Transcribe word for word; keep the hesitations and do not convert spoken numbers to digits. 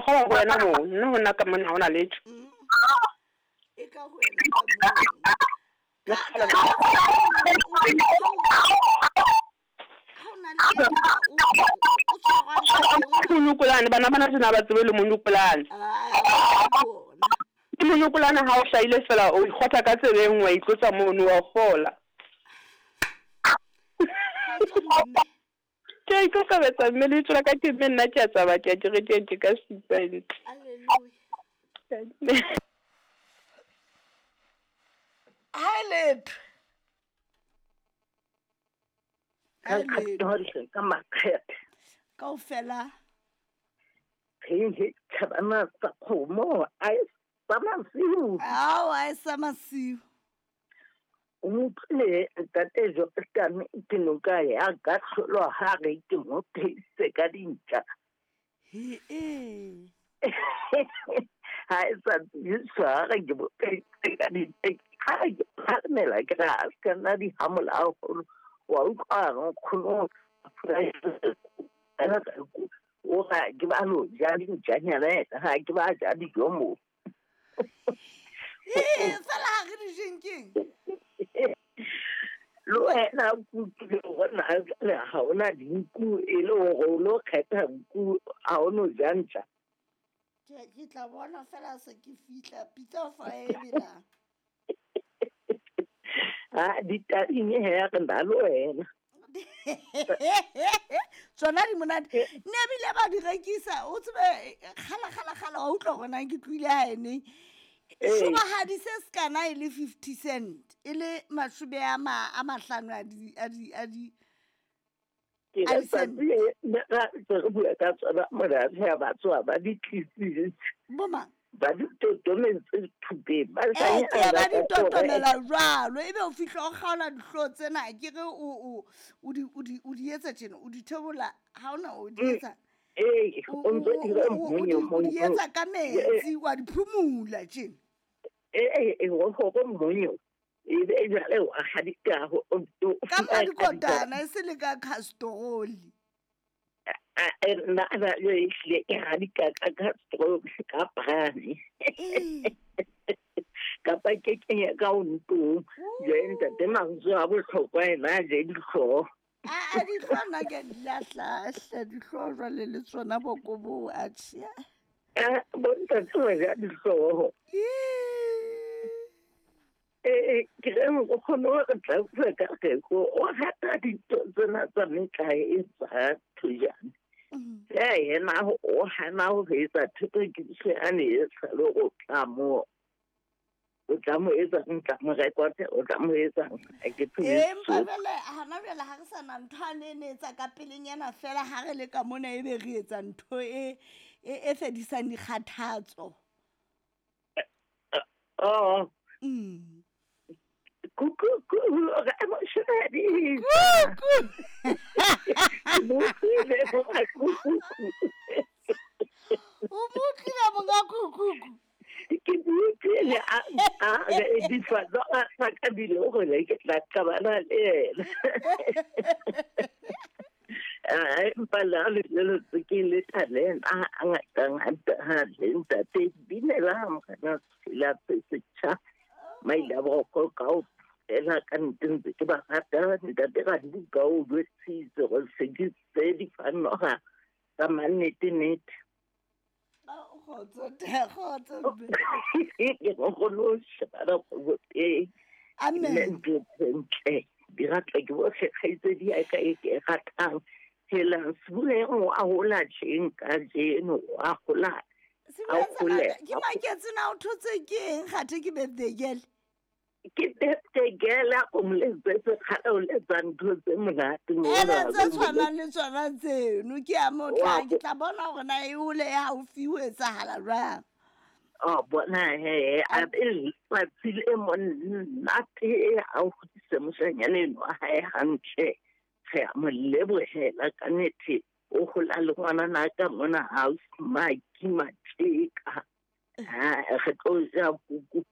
Ke a kgolwa ho wena moo, nna ho nna ka mona ha hona letho. E ka ho wena ka moo. Le Ka- kgale ka- ha o na le ena, o- o- o tshwarwang ka teng, o- Monokolane, bana bana tjena ba tsebe le monokolane. Ah, bona. Ke monokolane ha o hlahile fela o ikgotha ka tsebeng wa itlotsa mono wa fola. Kgotso mme. Ke a ikokobetsa mme lebitso la ka ke mme nna ke a tsamaya ke ya kerekeng ke ka supa ntle. Hallelujah. Ha e letho. Ha e letho. Ka ka makgethe. Kaofela. He thabana tsa kgomo a e sa masiu. Ao, a e sa masiu. O utlwile ntate Jordan ke noka ya ka tlholo ha re ke mo pheise ka dintja. He e. Ha e sa tsebiswa ha re ke mo pheise ka dintja. Ha ke phalemela ke re a se ka nna di hamola haholo. Wa utlwa nkgono o ga ke ba lo ja dintjanyana ha ke ba ja dijo moo. Ee, fela ha re di jeng keng? Le wena o kutlwile hore na jwale ha hona dinku e le hore o lo kgetha nku ha o no ja ntja. Ke ke tla bona fela se ke fihla pitsa fa e belang. Ha ditading he re na le wena. Tsona di monate. Ne ebile ba di rekisa, o tsebe kgala kgala kgala wa utlwa hore na ke tlohile hae neng. Ee. Shobahadi se sekana e le fifty cent, e le mashome a ma a mahlano a di a di a di Ke a re di cent. tsatsi le ra ntse re bua ka tsona monate ha ba tsoha ba di tlisitse. Bo mang? Ba di totometse thupeng ba Eh, ke sa ba di ka tsona. totomela jwalo, ebe o fihla o kgaola dihlooho tsena, ke re o o o di o di o di etsa tjena, o di theola, ha hona o di etsa. Ee, O o ntso o dira o o mmonyo di o di mo- etsa ka metsi, wa di phumula tjena. Ee, ee, o hore mmonyo. Ebe jwale wa hadika ho o o Ka fumana madikotana e se le ka castrol. A nna na le ehlile ke hadika ka castrol ka brane. Ee. Kapa ke kenye ka ontong. Jwale ntate mantswe a bohlokwa ena a je dihlooho. A a dihlooho nna ke a di lahla hle, dihlooho jwale le tsona boko bo atjhe. Ah, bo ntate ba ja dihlooho. Ee, ke re o kgone ho re tlatsa ka reko o rata dintho tsena tsa metlae e tsa thojane. He yena o hana ho etsa thothokiso yane e sa le o tla mo o tla mo etsang, tla mo rekote, o tla mo etsang. Ha ke tsebe Empa so. jwale hana jwale ha re sa na ntho ane e ne etsa ka pelenyana fela ha re le ka mona ebe re etsa ntho e e e fedisang dikgathatso. Oh. Mm. Kuku kuku re moshadi. Kuku. Mo utlwile monga kuku. O mo utlwile monga kuku. Ke utlwile a a re difatsa a ka bile hore ke tla qabana le yena. Ah, empa le ha le le ke le talent a a ngata ngata ha le ntate binela morena la setjha maile a boroko ka o fela ka nnete ntse ke ba rata ntate ga di ka o jwetsitse gore se ke tse di fanoga tsa mannete-nete. Kgotso te kgotso mme. Ke nkgono o shebana kgwebo teng. Amen. Nne ntho tse ntle di ratwa ke bohle kgaitsedi ya ka e ke e ratang. Helang Sebuleng o a hola tjeng kajeno o a hola. Sebuleng A hole. ke maketse na o thotse ke eng kgathe ke birthday girl? Ke birthday girl a ko mo letsetse kgale o letsa ntho tse monate mona. Ene tse tshwanang le tsona tseno ke a mo tla ke tla bona hore na e hole e haufi ho etsahala jwang. Oh, bona he, a be letsatsi le monate a hodise moshanyana enwa wa hae hantle. Re a mo lebohela ka nnete o hola le ngwanana ka mona house Maki Mateka. Ha re tlo ja kuku